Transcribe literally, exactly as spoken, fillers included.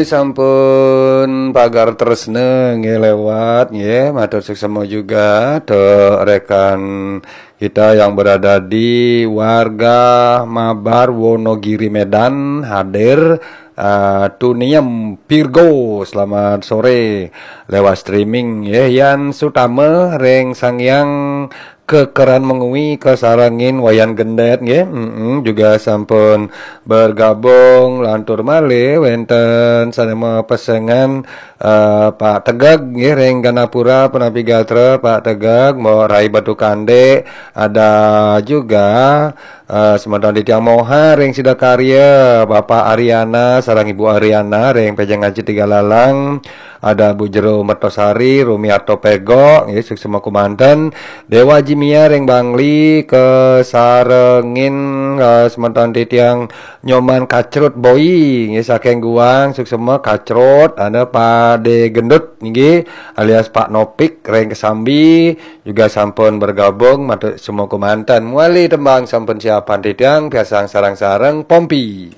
Sampun pagar tresna nggih lewat nggih, matur suksma juga to rekan kita yang berada di warga Mabar Wonogiri Medan hadir, eh, Tuniem Virgo, selamat sore lewat streaming nggih. Yan Sutama ring Sangyang Kekeran Mengwi kasarengin Wayan Gendet nggih. Mm-mm, juga sampun bergabung lantur malih wenten sane mapesengan, eh, Pak Tegeg nggih ring Ganapura, punapi gatra Pak Tegeg, Mbok Rai Batu Kande, ada juga, eh, semeton titiang Moha ring Sidakarya, Bapak Ariana sareng Ibu Ariana ring Pejeng Aji Tiga Lalang, ada Bu Jero Mertosari, Rumiarto Pego nggih, suksma kumanten. Dewa Jimia ring Bangli kasarengin, eh, semeton titiang Nyoman Kacrut Boi nggih saking Guang, suksma Kacrut, ada Pak De Gendut nggih alias Pak Nopik ring Kesambi juga sampun bergabung, matur suksma kumanten. Muali tembang sampun siapan titiang, piarsang sareng-sareng Pompi.